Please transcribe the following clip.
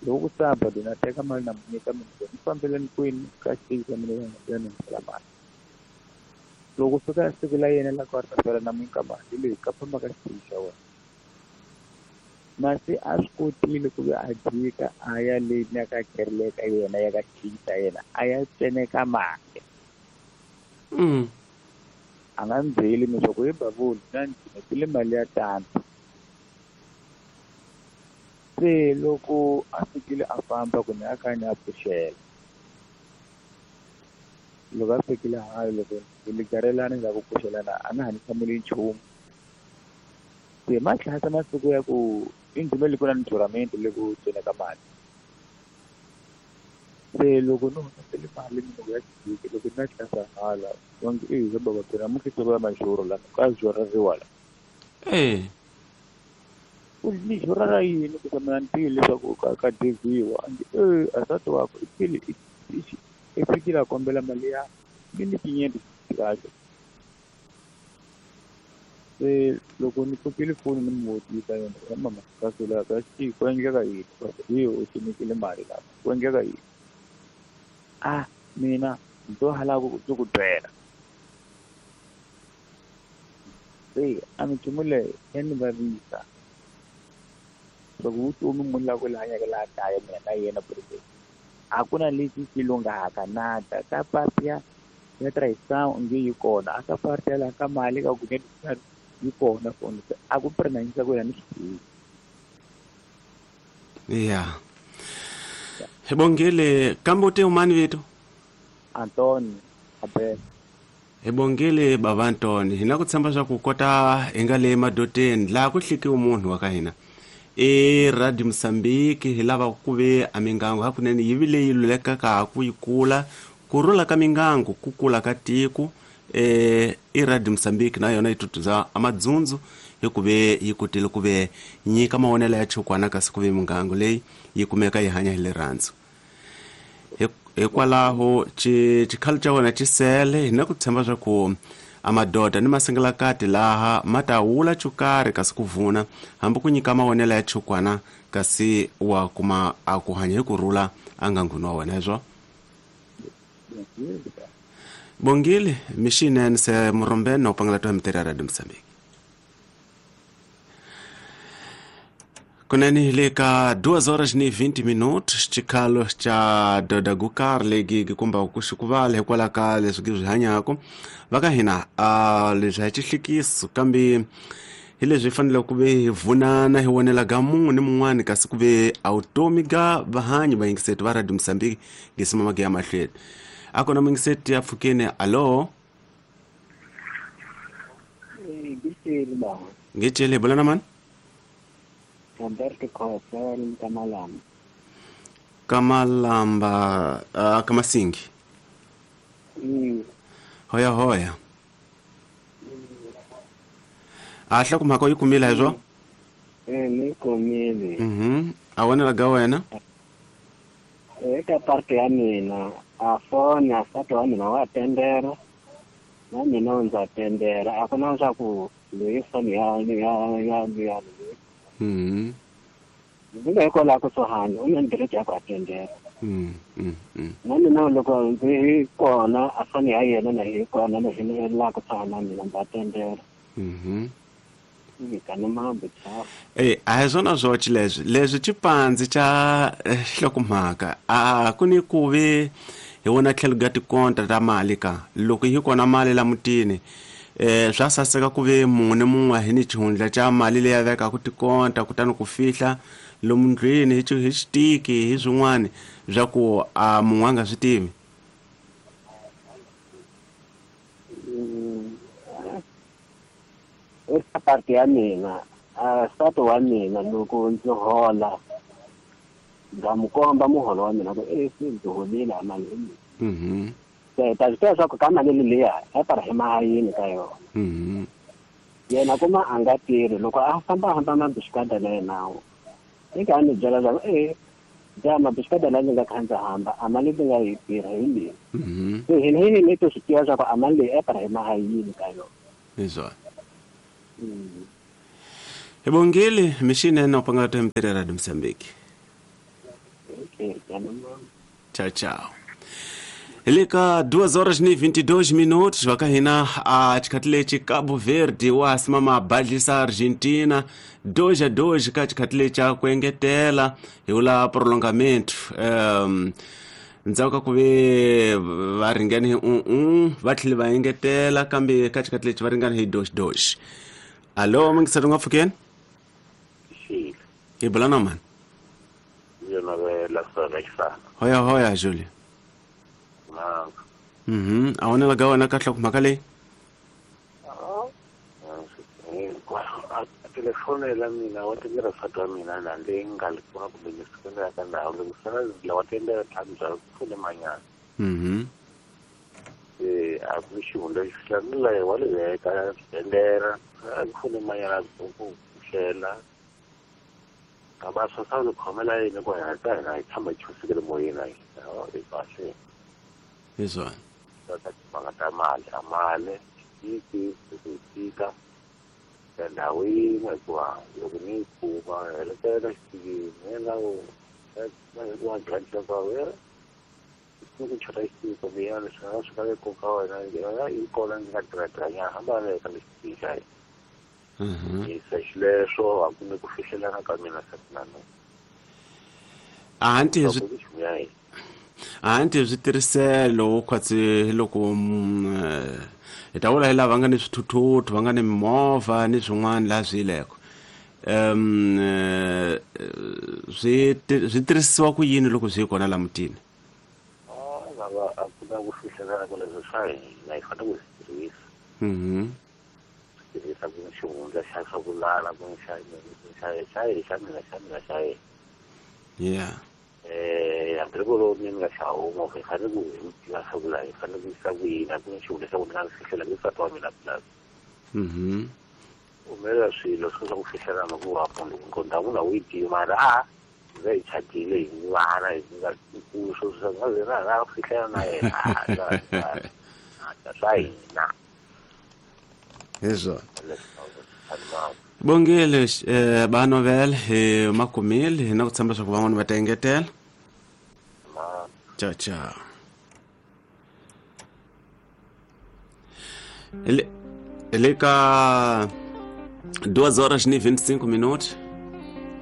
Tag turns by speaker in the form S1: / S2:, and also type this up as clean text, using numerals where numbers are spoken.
S1: Loko ku sabado na teka mali na mu nyika mina ni fambeleni kwini ka xitichi xa mina ya ni nyikela mali. Loko fika siku la yena la ku a ta sala na mu nyika mali leyi ka famba ka xitichi xa wena. Masi a swi kotile ku ve a jika a ya le na ka kereke yena ya ka xitichi xa yena a ya tseneka mali. A nga ni byeli leswaku he Bavula na ni tile mali ya tano. Se loko a fikile a famba ku ni a kha ni a pfuxela. Loko a fikile hayi loko hi ligarelana ndzhaku ku pfuxelana a nga ha ni hlamuli nchumu. Se ma tlhasa masiku ya ku i ndhume le ku na ni juramento le ku tseneka mali. Se loko ni humesele mali mina ku ya xibiki loko ni ya tlhasa hala va nge e he baba phela namuntlha ya majoro la ka jorariwa la. Ku ni jora ra yini ku mina ni tivi leswaku ka deviwa a nge e asati wakwe i file i fikile a kombela mali ya mi ni tinyenti kahle. Se loko ni pfukile foni ni mu vutisa yena ya mama ka sula ka xi ku endleka yini hi u tinyikile mali la ku endleka yini a mina ndzo hala ku ku byela. Se a minchumu leyi ya ni vavisa loko vutomi munhu la ku hanyaka laha kaya mina na yena president a ku na lexi xi lunghaka nada ka party ya trayisana nge yi kona a ka party ya laha ka mali ka ku yi kona foni a ku prenanyisa ku yena ni swi tivi.
S2: Ya hi bongile kambe u te umani vito?
S1: Antoni Abel.
S2: Hi bongile bava Antoni, hi na ku tshemba swa ku kota hi nga le madoteni laha ku hlikiwe munhu wa ka hina i Radio Mosambiki. Hi lava ku ve a mingangu hakunene yi vi leyi lulekaka ku yi kula ku rhula ka mingangu ku kula ka tiko. I Radio Mosambiki na yona yi tutuza amadzundzu hi ku ve yi kotile ku ve nyika mavonelo ya chukwana kasi ku ve mingangu leyi yi kumeka yi hanya hi rirhandzu. Hikwalaho xikhalo xa wena xi sele hi na ku tshemba swa ku a madoda ni masingalakati laha ma ta wula chukarhi kasi ku vuna hambi ku nyika mavonelo ya chukwana kasi wa kuma a ku hanya hi ku rhula a nganguni wa wena hezwo. Bongile mixinene se murombeni na u pangela to mitirho ya Radio Mosambiki kunene hi le ka 2 horas ni 20 minutos xikhalo xa doda gukar legi kumba ku xikuvala hikwalaho ka leswi gi swi hanyaka va ka hina a leswi a hi xihlikiso kambe hi leswi hi fanele ku ve hi vunana hi vonela ga mun'we ni mun'wani kasi ku ve a vutomi ga vahanyi vayingiseti va Radio Mosambiki ngisima mage ya mahlweni a kona muyingiseti ya pfukeni. Alo, ngitshele hi bula na mani?
S3: Roberto Khosa Kamalamba.
S2: Kamalamba, Kamasingi. Hoya hoya. A hloko mhaka u yi kumile hezwo?
S3: Ni kumile.
S2: A vonela ga wena?
S3: Eka parte ya mina a foni a nsati wa mina wa tendera na mina ndza tendera a ku na swa ku leyi foni ya ya ya ya. Ndzi nga hikwalaho kusuhani u na ndireti ya ku a tendera. Na mina loko ndzi kona a foni ya yena na hi kona na hi laha kusuhani na mina ndza tendera.
S2: A hi swona swoxe leswi leswi xipandzi xa nhlokomhaka a ku ni ku ve hi vona tlhelo ga tikonta ta mali ka loko yi kona mali la mutini swa saseka ku ve mun'we ni mun'we hi ni xihundla xa mali leyi a vekaka tikonta kutani ku fihla lomu ndlwini hi xitiki hi swin'wana swa ku a mun'we a nga swi tivi.
S3: Eka parte ya mina nsati wa mina loko ndzi hola ndza mu komba muholo wa mina ku se ndzi holile a mali leyi. Se ta swi tiva swa ku ka mali liya a ta ri yini ka yona. Yena kuma a nga tirhi loko a famba hamba mabixikada na yena i ka ni byela swa ku ja mabixikada la ndzi nga kha ndzi hamba a mali ndzi nga yi tirha hi leyi. Se hina hi ni to swi tiva swa ku a mali leyi a ta ri yini ka yona.
S2: Hi swona. Hi bongile mixinene u pangela to mitirho ya Radio Mosambiki. Tchau, tchau. Eleka 2:22 vakahina a xikhathi lexi Cabo Verde wa simama badlisa Argentina 2-2 ka xikhathi lexi a ku engetela hi wula prolongamento. Ndzhaku ka ku ve va ringane hi 1-1 va tlhele va engetela kambe ka xikhathi lexi va ringane hi 2-2. Allo, mingiseri nga pfukeni? Hi bula na mani? Hoya hoya Julie. A wona ga wena ka hloko mhaka leyi?
S4: Telefoni la mina wa tendera nsati wa mina la leyi nga li pfuna kumbe ni sukela ka ndhawu loko sala la wa tendera ntlhanu bya pfune manyana. A ku xihundla xi hlamula wa le veka tendera a ku pfune manyana ku hlela ka va swa sa khomela yini ku hina ta hina hi tshama hi chusekele moyeni hi kahle.
S2: Hi swona.
S4: Timhaka ta mali a mali tiki ku tika ndhawu yin'we hikuva loko ni yi kuma helekela xipikini yena wa ku chota xipiki kumbe yena leswi nga swi ka nkoka wa wena yi kona ndzi nga tirhatirha nyana hamba veka lexipiki xa hina. Se xileswo a ku ni ku fihlelana ka mina na nuna.
S2: A nti switirhiselo khwatsi loko hi ta vula hi lava nga ni swithuthuthu va nga ni mimovha ni swin'wana laha swi yileko swi tirhisiwa ku yini loko swi yi kona la mutini?
S4: Lava a ku na ku fihlelana ku leswi swa hina hi fanele ku swi tirhisa. Swi tirhisa ku xihundla xa swa ku lala ku xa xa xa xa mina xa mina xa yena.
S2: Yeah.
S4: Hambi loko ni nga xa huma hi fanele ku hi tiva swa ku la hi fanele ku yisa ku yini a ku na xihundla xa ku ni nga fihlela ku nsati wa mina pulasi. Humelela swilo swo swa ku fihlelana ku wa munhu ku ndhawu na wu yi tivi mara a va hi chatile hi vana hi nga ku swo swa nga na na fihlela na yena swa hina.
S2: Hi swona. Bongile Banovel hi makumile hi na ku tshemba swa ku van'wana va ta engetela. Tchau, tchau. Ele ka 2:25.